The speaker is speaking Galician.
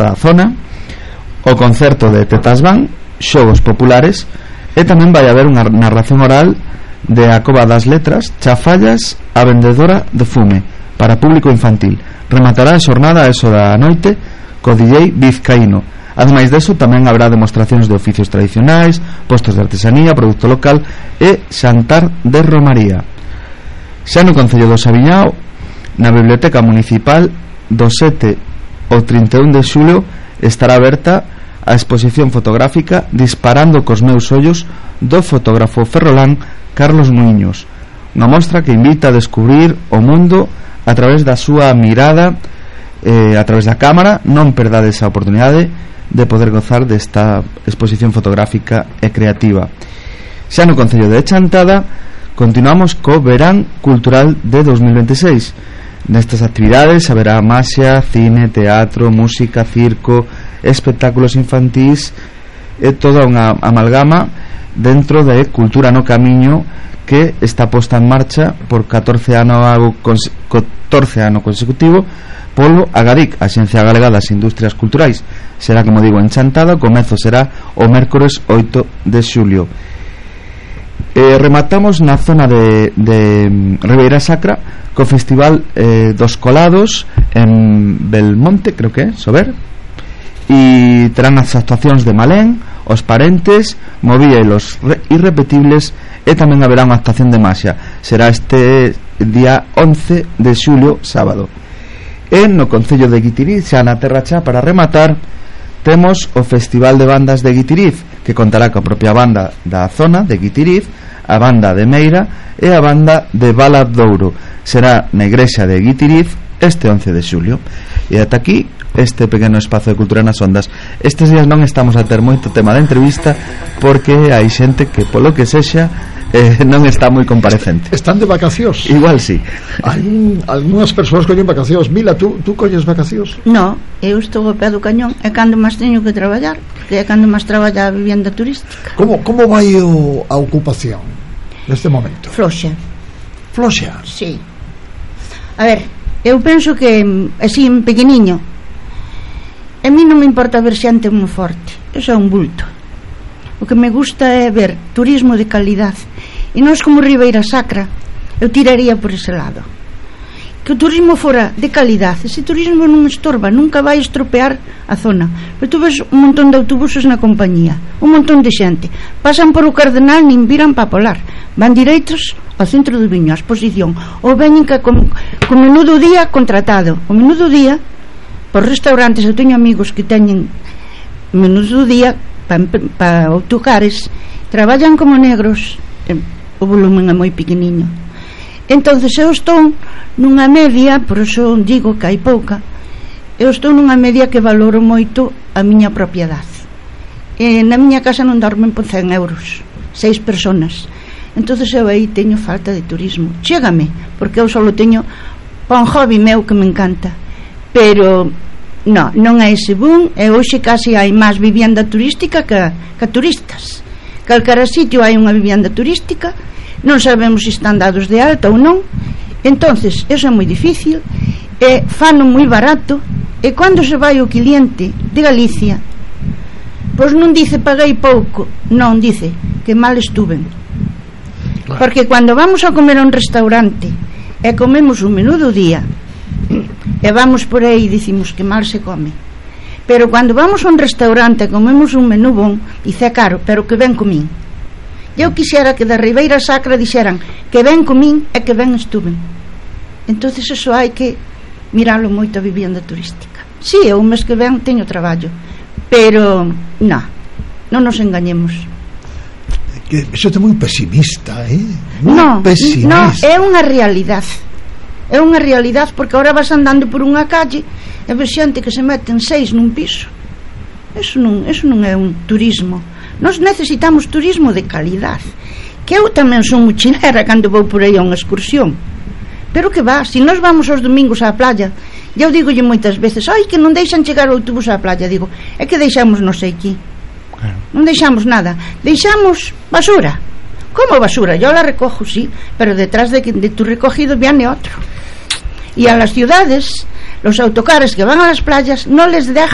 da zona, o concerto de Tetas Van, xogos populares, e tamén vai haber unha narración oral de A Cova das Letras, Chafallas, a vendedora de fume, para público infantil. Rematará a xornada a eso da noite co DJ Vizcaíno. Ademais deso, tamén habrá demostracións de oficios tradicionais, postos de artesanía, produto local e xantar de romaría. Xa no Concello do Sabiñao, na Biblioteca Municipal, do 7 ao 31 de xulio estará aberta a exposición fotográfica Disparando cos meus ollos, do fotógrafo ferrolán Carlos Muiños, unha mostra que invita a descubrir o mundo a través da súa mirada, a través da cámara. Non perdades a oportunidade de poder gozar desta exposición fotográfica e creativa. Xa no Concello de Chantada continuamos co Verán Cultural de 2026. Nestas actividades haberá maxia, cine, teatro, música, circo, espectáculos infantís e toda unha amalgama dentro de Cultura no Camiño, que está posta en marcha por 14 ano consecutivo polo Agadic, a Axencia Galega das Industrias Culturais. Será, como digo, en Chantada. O comezo será o mércores 8 de xulio. Rematamos na zona de Ribeira Sacra co Festival dos Colados en Belmonte, creo que é, Sober, e terán as actuacións de Malén, Os Parentes, Movía e Los Irrepetibles, e tamén haberá unha actuación de maxia. Será este día 11 de xulio, sábado. E no Concello de Guitiriz, xa na Terra Chá, para rematar, temos o Festival de Bandas de Guitiriz, que contará coa propia banda da zona de Guitiriz, a banda de Meira e a banda de Valadouro. Será na igrexa de Guitiriz este 11 de xulio. E ata aquí este pequeno espazo de Cultura nas Ondas. Estes días non estamos a ter moito tema de entrevista, porque hai xente que, polo que sexa, non está moi comparecente. Están de vacacións. Igual sí. Hai algunhas persoas collen vacacións. Mila, tú colles vacacións? No, eu estou ao pé do cañón. É cando máis teño que traballar, porque é cando máis traballa a vivienda turística. Como vai a ocupación neste momento? Floxa. Floxa? Sí. A ver, eu penso que así en pequeniño, a mí non me importa ver xente moi forte, eu sou un bulto. O que me gusta é ver turismo de calidad, e nós como Ribeira Sacra eu tiraría por ese lado, que o turismo fora de calidad. Ese turismo non estorba, nunca vai estropear a zona. Pero tú ves un montón de autobuses na compañía, un montón de xente, pasan por o Cardenal, nin viran pa Polar, van direitos ao centro do Viño, a exposición, ou veñen con menú do día contratado. O menú do día, por restaurantes, eu teño amigos que teñen menú do día para autocares, traballan como negros, o volumen é moi pequeniño. Entonces eu estou nunha media, por eso digo que hai pouca, eu estou nunha media que valoro moito a miña propiedade. Na miña casa non dormen por 100 euros, 6 personas. Entonces eu aí teño falta de turismo. Chégame, porque eu só teño pa un hobby meu que me encanta, pero non é ese boom. E hoxe casi hai máis vivienda turística que turistas. Calcara sitio hai unha vivienda turística, non sabemos se están dados de alta ou non. Entonces eso é moi difícil, e fano moi barato, e cando se vai o cliente de Galicia, pois non dice paguei pouco, non, dice que mal estuven. Porque cando vamos a comer a un restaurante e comemos un menú do día e vamos por aí e dicimos que mal se come, pero cando vamos a un restaurante e comemos un menú bon, dice caro, pero que ben comín. Eu quixera que da Ribeira Sacra dixeran que ben comín e que ben estuven. Entonces eso hai que miralo moito a vivienda turística. Si, eu o mes que ven teño traballo, pero non nos engañemos. Eso é moi pesimista, pesimista. No, é unha realidade. É unha realidade, porque agora vas andando por unha calle e ves xente que se meten 6 nun piso. Eso non é un turismo. Nós necesitamos turismo de calidade. Que eu tamén son mochilera cando vou por aí a unha excursión, pero que va, se nós vamos aos domingos á playa, eu digolle moitas veces, ai, que non deixan chegar o autobús á playa, digo, é que deixamos non sei aquí, non deixamos nada, deixamos basura. Como basura? Yo la recojo, sí, pero detrás de tu recogido viene otro. Y a las ciudades, los autocares que van a las playas no les dejan